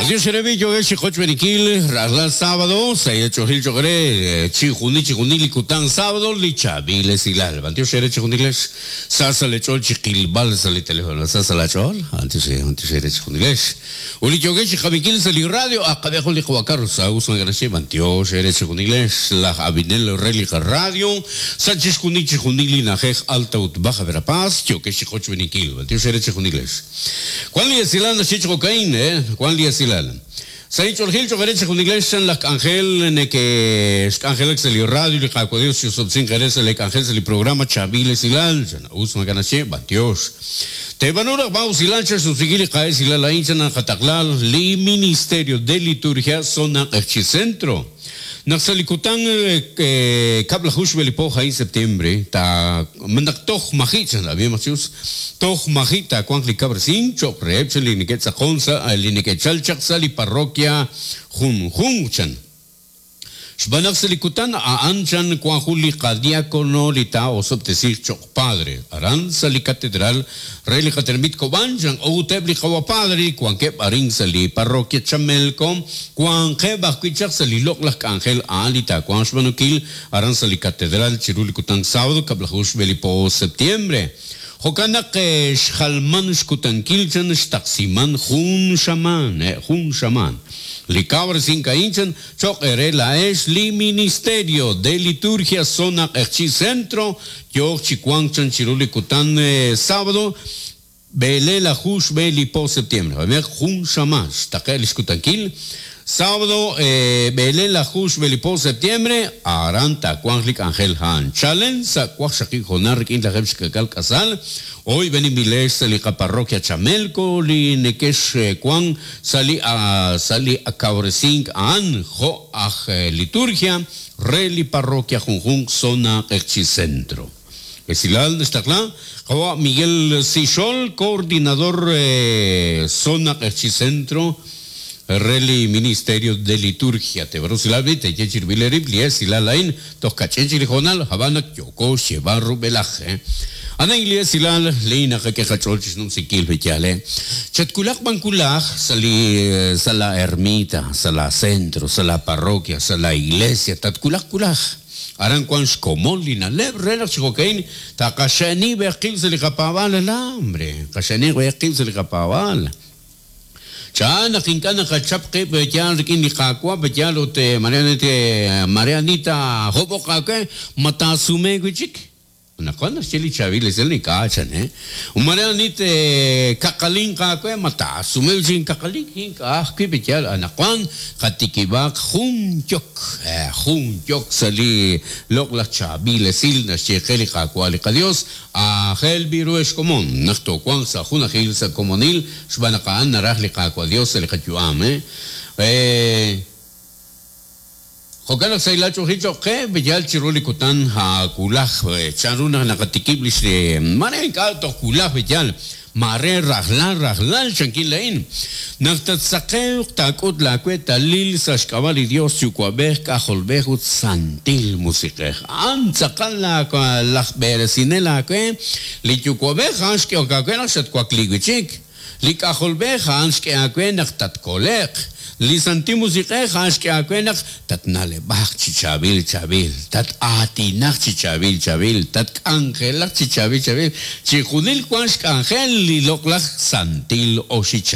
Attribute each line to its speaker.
Speaker 1: Adiós, Xerebi, yogesh xochb'eninkil rajlal sábado sa' ch'oojil cho'q re chijunil chijunil li kutan sábado li chaab'il esilal. B'antiox eere chijunilex sa sa' le ch'ool chi qilb'al sa' li teléfono sa sa' la ch'ool. B'antiox b'antiox eere chijunilex. Ut li yogesh chi qab'inkil sa' li radio aqab'ej jun li qawa' Carlos Saúl Sangraxe b'antiox eere chijunilex laj ab'inel re li qaradio sa' chixjunil chijunil li na'ajej Alta ut Baja Verapaz yokex chi qochb'eninkil. B'antiox eere chijunilex. Wan li esilal naxye chi jo'ka'in, eh, wan li esilal. Sa' inch'oolejil cho'q eere chejunilex chan laj k'anjel neke'xk'anjelak sa' li radio li Qaawa' Dios chi'osob'tesinq eere sa' lee k'anjel sa' li programa Chaab'il Esilal, chan us maak'a' naxye, b'antiox. Teeb'aanu raj b'an usilal chan xnumsinkil li qa'esilal a'in chan naqataqla li Ministerio de Liturgia Zona Q'eqchi' Centro. Naq sa' li kutan kab'laju xb'e li po a'in septiembre, ta naq toj maji' chan ab'ihomaq chi us, toj maji' taawanq li kab'resink cho'q reheb' chan li neke'tz'aqon sa' li neke'chal chaq sa' li parroquia junjunq chan. Xb'aan naq sa' li kutan a'an chan wan jun li qadiakono li taa'osob'tesiiq cho'q padre aran sa' li catedral re li qatenamit Cobán chan ut eb' li qawa' padre li wankeb' arin sa' li parroquia Chamelco wanqeb' ajwi' chaq sa' li loq'laj k'anjel a'an li taawanq xb'aanunkil aran sa' li catedral chiru li kutan sábado kab'laju xb'e li po septiembre. Jo'kan naq xjalman xkutankil chan xtaqsiman jun xamaan, jun xamaan. Li kawresink a'in chan cho'q eere laa'ex li Ministerio de Liturgia Zona Q'eqchi' Centro yooq chi wank chan chiru li kutan sábado b'eleelaju xb'e li po septiembre. Jo'meq jun xamaan xtaqe' li xkutankil sábado b'eleelaju xb'e li po septiembre aran taawanq li k'anjel a'an. Chalen sa' waqxaqib' hoonal rik'in lajeeb' xka'k'aal k'asal oyb'eninb'ilex sa' li qaparroquia Chamelco li nekex wank sa' li sa' li kawresink a'an jo' aj liturgia re li parroquia junjunq zona Q'eqchi' Centro. Esilal naxtaqla qawa' Miguel Sixol, coordinador zona Q'eqchi' Centro re li Ministerio de Liturgia. Teeb'aanu usilal b'i' teeye chirib'il eerib' li esilal a'in toj kach'in chik li hoonal, ab'an naq yooko xyeeb'al rub'elaj. A'an a'in li esilal li naqak'e qach'ool chi xnumsinkil li yaal. Chatwulaq b'an wulaj sa' li sa' la ermita, sa' la centro, sa' la parroquia, sa' la iglesia, tatwulaq wulaj. Aran wank xkomon li na'leb' re naq chi jo'ka'in taqaxe'ni b'eq qib' sa' li qapaab'aal, alambre, qaxe'ni b'eq qib' sa' li qapaab'aal. Chan naq ink'a' naqachap qib' yaal rik'in li Qaawa' yaal ut mare ani taahob'oq aawe, ma taasume wi' chik? Anaqwan naxye li chaab'il esil ink'a' chan, eh. Mare ani tkaqalinq aawe, ma taasume wi' chik inkaqalink? Ink'a' ajwi' yaal anaqwan qatikib'aq jun yok, jun yok sa' li loq'laj chaab'il esil naxye qe li Qaawa' li qaYos. Aajel b'i' ru ex komon, naq toowanq sa' junajil sa' komonil xb'aan naq a'an naraj li Qaawa' Dios sa' li qayu'am. Jo'kan naq sahilal ch'oolejil cho'q qe, yal chiru li kutan wulaj, chan ru naq naqatikib' lix maare ink'a' toj wulaj yal Maare rajlal rajlal, chankin laa'in, naq tatsaqewq taak'ut laaweetalil sa' xk'ab'a' li Dios Yuwa'b'ej, K'ajolb'ej ut Santil Musiq'ej. A'an tz'aqal laj b'eresinel aawe, li Yuwa'b'ej a'an xk'ehok aawe naq xatwakli wi' chik. Li K'ajolb'ej a'an xk'e aawe naq tatkole'q. Li Santil Musiq'ej a'an xk'e aawe naq tatna'leb'aq chi chaab'il chaab'il, tat-aatinaq chi chaab'il chaab'il, tatk'anjelaq chi chaab'il chaab'il, chixjunil wank xk'anjel li loq'laj santil oxichal.